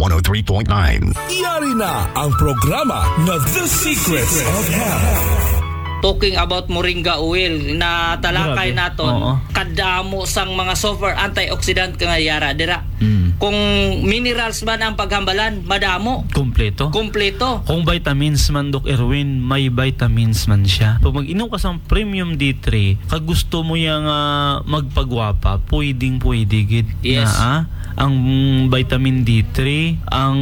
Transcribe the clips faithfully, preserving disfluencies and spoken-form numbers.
one oh three point nine. Yari na ang programa nga The Secrets of Health. Talking about moringa oil, na talakay Grabe. naton, Oo. kadamo sang mga super antioxidant nga yara dira. Mm. Kung minerals man ang paghambalan, madamo. Kompleto. Kompleto. Kung vitamins man, Doc Erwin, may vitamins man siya. Pag mag-inom ka sa premium D three, kag gusto mo yang, ah, magpagwapa, pwedeng pwede gid. Yes. Na, ah, ang vitamin D three, ang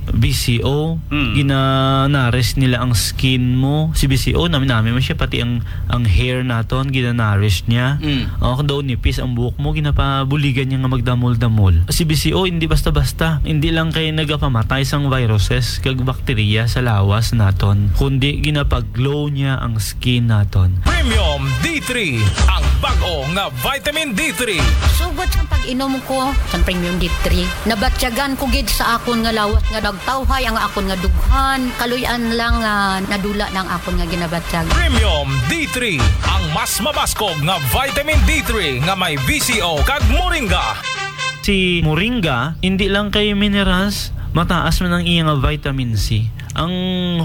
B C O, Mm. gina-nourish nila ang skin mo. Si B C O, nami-nami man siya, pati ang, ang hair naton, gina-nourish niya. Mm. Oh, kung daw nipis ang buhok mo, ginapabuligan niya nga magdamol-damol. Si B C O, hindi basta-basta. Hindi lang kay nagapamatay sang viruses kag bakterya sa lawas naton, kundi ginapag-glow niya ang skin naton. Premium D three, ang bag-o nga vitamin D three. Sugod sa pag-inom ko sa Premium D three, nabatyagan ko gid sa akon nga lawas nga nagtawhay ang akon nga dughan. Kaluy-an lang nga nadula na ang akon nga ginabatyag. Premium D three, ang mas mabaskog nga vitamin D three nga may V C O kag moringa. Si moringa, hindi lang kay minerals, mataas man ang iya nga vitamin C. Ang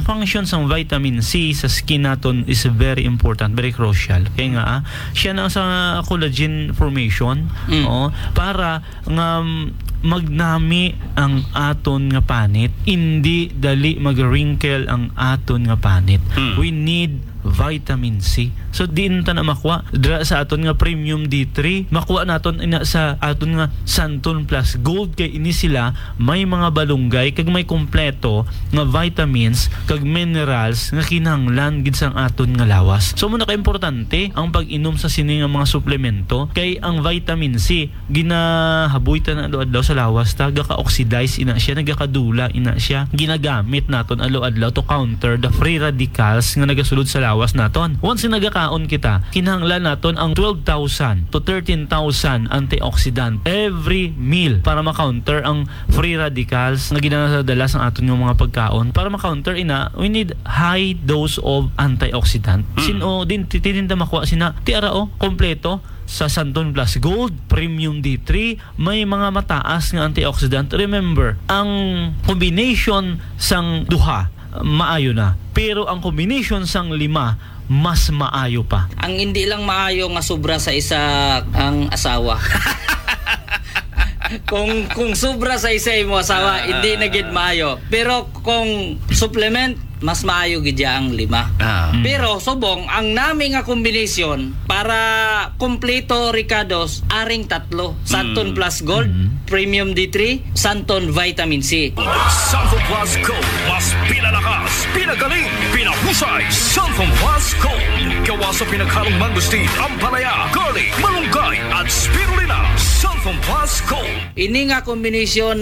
function sang vitamin C sa skin naton is very important, very crucial. Kaya nga, ah, siya na sa collagen formation, Mm. oo, para nga, mm, magnami ang aton nga panit, hindi dali mag-wrinkle ang aton nga panit. Mm. We need vitamin C. So, diin ta na makuha? Dira sa aton nga Premium D three, makuha naton ina sa aton nga Santon Plus Gold, kay ini sila may mga balunggay kag may kompleto nga vitamins kag minerals nga kinahanglan gid sang aton nga lawas. So, muna ka importante ang pag-inom sa sini nga mga suplemento, kay ang vitamin C, ginahaboy ta na adlaw-adlaw sa lawas ta, gaka-oxidize ina siya, nagakadula ina siya. Ginagamit naton adlaw-adlaw to counter the free radicals nga nagasulod sa lawas naton. Once nga nagakaon kita, kinahanglan naton ang twelve thousand to thirteen thousand antioxidant every meal para ma-counter ang free radicals nga ginadala sa aton nga mga pagkaon. Para ma-counter ina, we need high dose of antioxidant. Mm. Sin-o din, ti-, tininda makuha sina, ti ara, oh, kompleto sa Santon Plus Gold, Premium D three, may mga mataas nga antioxidant. Remember, ang combination sang duha, maayo na. Pero ang combination sang lima, mas maayo pa. Ang hindi lang maayo nga sobra sa isa ang asawa. Kung, kung sobra sa isa imo asawa, Ah. hindi na gid maayo. Pero kung supplement, mas maayo gid ya ang lima. Ah. Mm. Pero subong, ang nami nga kombinasyon para kompleto, Ricardos, aring tatlo. Santon Mm. Plus Gold, Mm. Premium D three, Santon Vitamin C. Santon Plus Gold, mas pinalakas, pinagaling, pinahusay. Santon Plus Gold, gawa sa pinaghalong mangosteen, ampalaya, garlic, malunggay, at spirulina. Santon Plus Gold. Ini nga kombinasyon,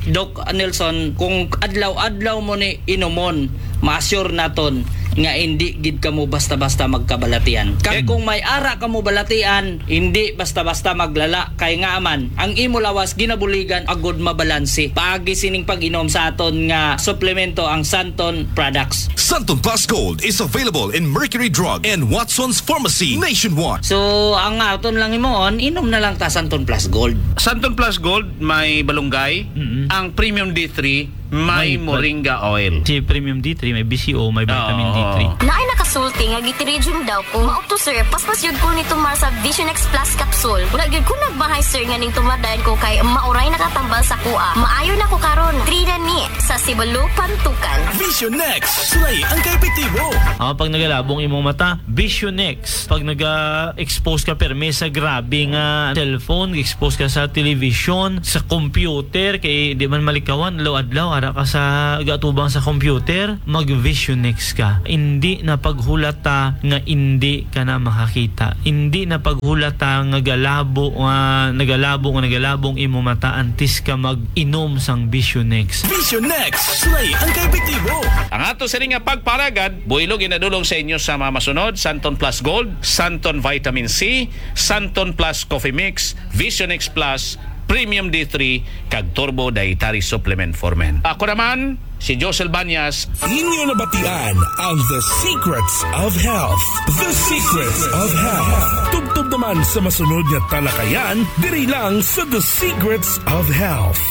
Doc Nelson, kung adlaw-adlaw mo ni inumon, ma-assure naton nga hindi gid kamo basta-basta magkabalatian. Kag Eg- kung may ara kamo balatian, hindi basta-basta maglala, kay nga man, ang imo lawas ginabuligan agud mabalanse. Paagi sining pag-inom sa aton nga suplemento, ang Santon products. Santon Plus Gold is available in Mercury Drug and Watson's Pharmacy nationwide. So, ang aton lang himuon, inom na lang ta Santon Plus Gold. Santon Plus Gold may balunggay, Mm-mm. ang Premium D three may May val- moringa oil. Si Premium D three, may B C O, may vitamin Oo. D three. Naay nakasulti nga gitiridium daw ko. Mao to, sir, paspas yun ko ni tumar sa Vision X Plus capsule. Wala gyud ko nagmahay, sir, nga ning tumar dayon ko kay mauray nakatambal sa kuha. Maayo na ko karon. Three na ni sa Sibalo, Pantukan. Vision X, sulay ang kaepektibo. Ah, pag nagalabong imong mata, Vision X. Pag naga-expose ka permi sa grabe nga cellphone, expose ka sa television, sa computer, kay di man malikawan, adlaw-adlaw, ara ka sa gatubang sa computer, mag-Vision X ka. Hindi na paghulata nga hindi ka na makakita. Hindi na paghulata nga galabo, nga nagalabo, nga nagalabong imo mata antes ka mag-inom sang Vision X. Vision X, sulay ang kaepektibo. Ang ato sini nga pagparagad, buhilo ginadulong sa inyo sa mga masunod: Santon Plus Gold, Santon Vitamin C, Santon Plus Coffee Mix, Vision X Plus, Premium D three, kag Turbo Dietary Supplement for Men. Ako naman, si Josel Banyas. Inyo nabatian ang The Secrets of Health. The Secrets of Health. Tubtob naman sa masunod nga talakayan, diri lang sa The Secrets of Health.